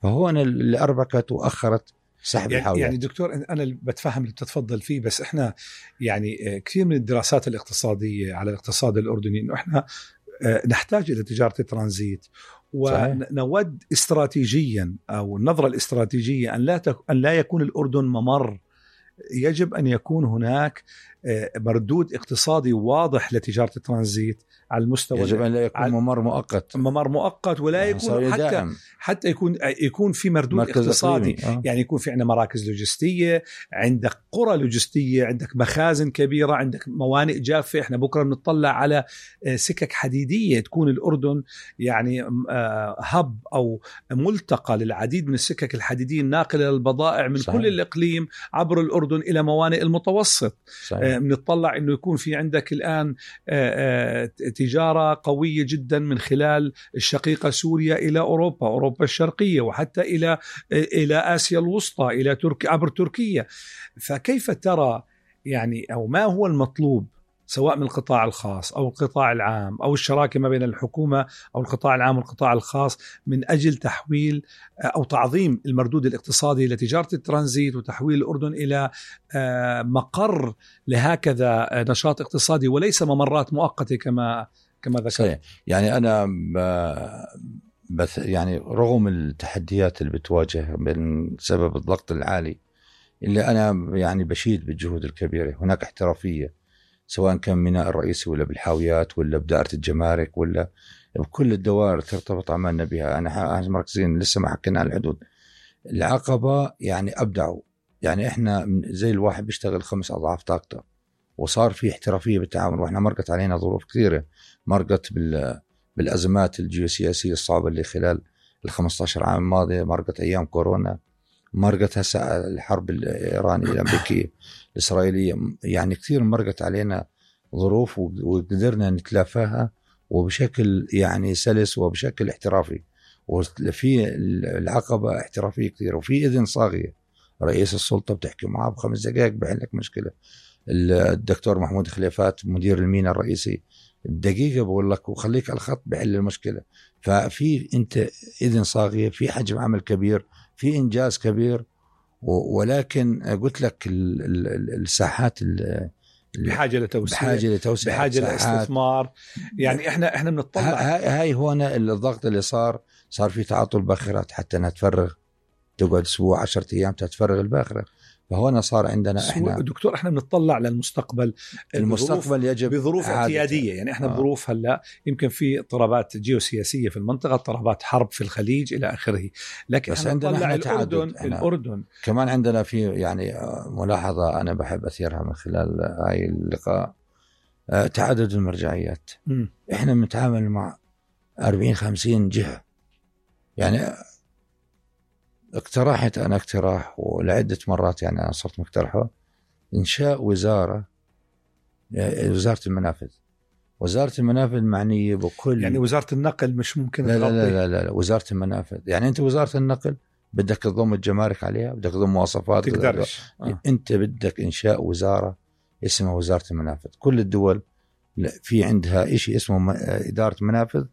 فهون اللي أربكت وأخرت سحب الحاويات. يعني دكتور أنا بتفهم اللي بتتفضل فيه، بس إحنا يعني كثير من الدراسات الاقتصادية على الاقتصاد الأردني إنه إحنا نحتاج إلى تجارة الترانزيت، ونود استراتيجيا أو النظرة الاستراتيجية أن لا يكون الأردن ممر. يجب أن يكون هناك مردود اقتصادي واضح لتجارة الترانزيت على المستوى. يجب أن لا يكون ممر مؤقت ولا يكون حتى يكون في مردود اقتصادي. يعني يكون في عندنا مراكز لوجستية، عندك قرى لوجستية، عندك مخازن كبيرة، عندك موانئ جافة. احنا بكرة بنطلع على سكك حديدية، تكون الأردن يعني هب أو ملتقى للعديد من السكك الحديدية الناقلة للبضائع من كل الإقليم عبر الأردن إلى موانئ المتوسط. بنطلع إنه يكون في عندك الآن تجارة قوية جدا من خلال الشقيقة سوريا إلى أوروبا الشرقية، وحتى إلى آسيا الوسطى، إلى عبر تركيا. فكيف ترى يعني أو ما هو المطلوب سواء من القطاع الخاص أو القطاع العام أو الشراكة ما بين الحكومة أو القطاع العام والقطاع الخاص من أجل تحويل أو تعظيم المردود الاقتصادي لتجارة الترانزيت وتحويل الأردن إلى مقر لهكذا نشاط اقتصادي وليس ممرات مؤقتة كما ذكرت؟ يعني أنا بس يعني رغم التحديات اللي بتواجه من سبب الضغط العالي اللي أنا يعني بشيد بالجهود الكبيرة، هناك احترافية سواء كان ميناء الرئيسي ولا بالحاويات ولا بدائرة الجمارك ولا بكل الدوائر ترتبط عملنا بها. أنا مركزين لسه ما حكينا عن الحدود. العقبة يعني أبدعوا، يعني إحنا زي الواحد بيشتغل 5 أضعاف طاقته، وصار في احترافية بالتعاون. وإحنا مرقت علينا ظروف كثيرة، مرقت بالأزمات الجيوسياسية الصعبة اللي خلال 15 عام الماضية، مرقت أيام كورونا، مرقت هسه الحرب الإيرانية الأمريكية الإسرائيلية. يعني كثير مرقت علينا ظروف وقدرنا نتلافاها وبشكل يعني سلس وبشكل احترافي. وفي العقبة احترافية كثير، وفي إذن صاغية. رئيس السلطة بتحكي معه ب5 دقائق بحلك مشكلة. الدكتور محمود خليفات مدير الميناء الرئيسي بدقيقة بقول لك وخليك على الخط بحل المشكلة. ففي انت إذن صاغية، في حجم عمل كبير، في إنجاز كبير. ولكن قلت لك الساحات بحاجة لتوسيع، بحاجة لاستثمار. يعني احنا بنطلع هاي هنا الضغط اللي صار في تعاطل باخرات حتى انها تفرغ، تقعد اسبوع 10 ايام تتفرغ الباخرة. فهنا صار عندنا احنا دكتور احنا بنطلع للمستقبل. المستقبل يجب بظروف اعتياديه. يعني احنا بظروف هلا يمكن في اضطرابات جيوسياسيه في المنطقه، اضطرابات حرب في الخليج الى اخره، لكن بس عندنا الأردن كمان عندنا في يعني ملاحظه انا بحب اثيرها من خلال هاي اللقاء، تعدد المرجعيات. احنا بنتعامل مع 40-50 جهه. يعني اقترحت أنا اقتراح ولعدة مرات، يعني أنا صرت مقترحه، إنشاء وزارة المنافذ. وزارة المنافذ معنية بكل، يعني وزارة النقل مش ممكن لا لا, لا لا لا وزارة المنافذ. يعني أنت وزارة النقل بدك تضم الجمارك عليها، بدك تضم مواصفات، تقدرش. أنت بدك إنشاء وزارة اسمها وزارة المنافذ. كل الدول في عندها إشي اسمه إدارة منافذ،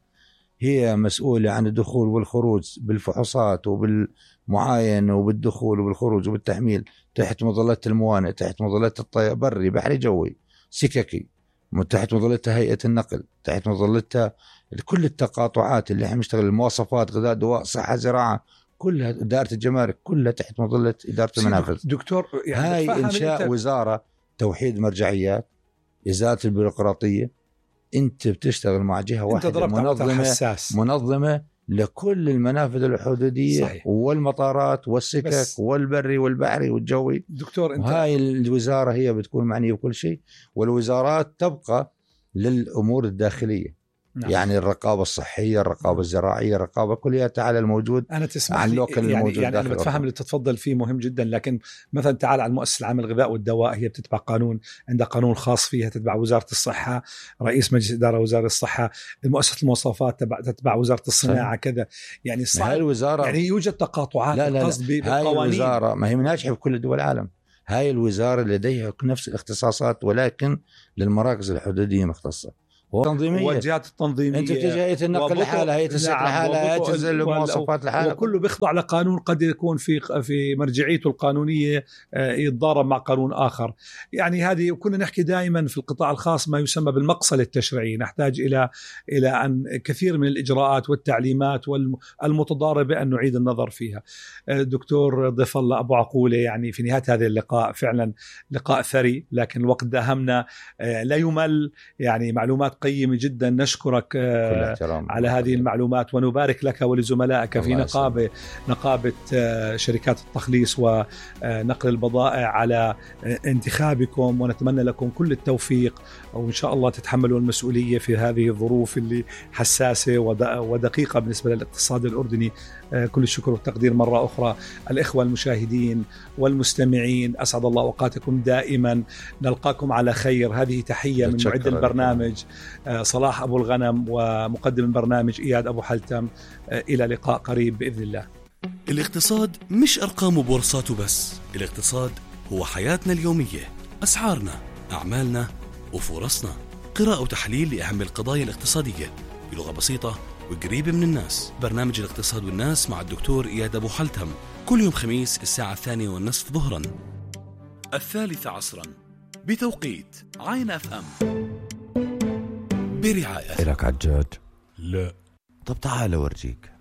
هي مسؤولة عن الدخول والخروج بالفحوصات وبالمعاينة وبالدخول وبالخروج وبالتحميل تحت مظلة الموانئ، تحت مظلة الطيار بري بحري جوي سككي، تحت مظلتها هيئة النقل، تحت مظلتها كل التقاطعات اللي احنا بنشتغل، المواصفات، غذاء، دواء، صحة، زراعة، كلها إدارة الجمارك كلها تحت مظلة إدارة المنافذ. دكتور يعني هاي إنشاء وزارة توحيد مرجعيات، إزالة البيروقراطية. انت بتشتغل مع جهه واحده منظمه لكل المنافذ الحدوديه. صحيح. والمطارات والسكك والبري والبحري والجوي. دكتور انت هاي الوزاره هي بتكون معنيه بكل شيء، والوزارات تبقى للامور الداخليه. نعم. يعني الرقابة الصحية، الرقابة الزراعية، الرقابة كلها تعالى الموجود. أنا تسمح لي يعني أنا بتفهم اللي تتفضل فيه مهم جدا، لكن مثلا تعال على المؤسسة العامة للغذاء والدواء، هي بتتبع قانون، عندها قانون خاص فيها، تتبع وزارة الصحة، رئيس مجلس إدارة وزارة الصحة. المؤسسة المواصفات تتبع وزارة الصناعة. كذا يعني الوزارة يعني يوجد تقاطعات. القصد هاي الوزارة ما هي مناجحة في كل دول العالم. هاي الوزارة لديها نفس الاختصاصات ولكن للمراكز الحدودية مختصة. والجهات التنظيمية. أنت تجي هيئة النقل لحالها، هيئة السكن لحالها، هيئة تنزل المواصفات لحالها، وكله بيخضع لقانون قد يكون في مرجعيته القانونية يتضارب مع قانون آخر. يعني هذه كنا نحكي دائما في القطاع الخاص ما يسمى بالمقصل التشريعي، نحتاج إلى أن كثير من الإجراءات والتعليمات والمتضاربة أن نعيد النظر فيها. دكتور ضيف الله أبو عقولة، يعني في نهاية هذا اللقاء فعلا لقاء ثري، لكن الوقت داهمنا، لا يمل، يعني معلومات قيمة جدا. نشكرك على هذه المعلومات، ونبارك لك ولزملائك في نقابة شركات التخليص ونقل البضائع على انتخابكم، ونتمنى لكم كل التوفيق، وإن شاء الله تتحملوا المسؤولية في هذه الظروف اللي حساسة ودقيقة بالنسبة للاقتصاد الأردني. كل الشكر والتقدير مرة أخرى. الإخوة المشاهدين والمستمعين، أسعد الله أوقاتكم دائما، نلقاكم على خير. هذه تحية من معد البرنامج صلاح أبو الغنم، ومقدم البرنامج إياد أبو حلتم. إلى لقاء قريب بإذن الله. الاقتصاد مش أرقام وبورصات وبس، الاقتصاد هو حياتنا اليومية، أسعارنا، أعمالنا وفرصنا. قراءة وتحليل لأهم القضايا الاقتصادية بلغة بسيطة وقريبة من الناس. برنامج الاقتصاد والناس مع الدكتور إياد أبو حلتم، كل يوم خميس الساعة 2:30 ظهرا، 3 عصرا بتوقيت عين FM، برعاية. إلك عجاج؟ لا. طب تعال أورجيك.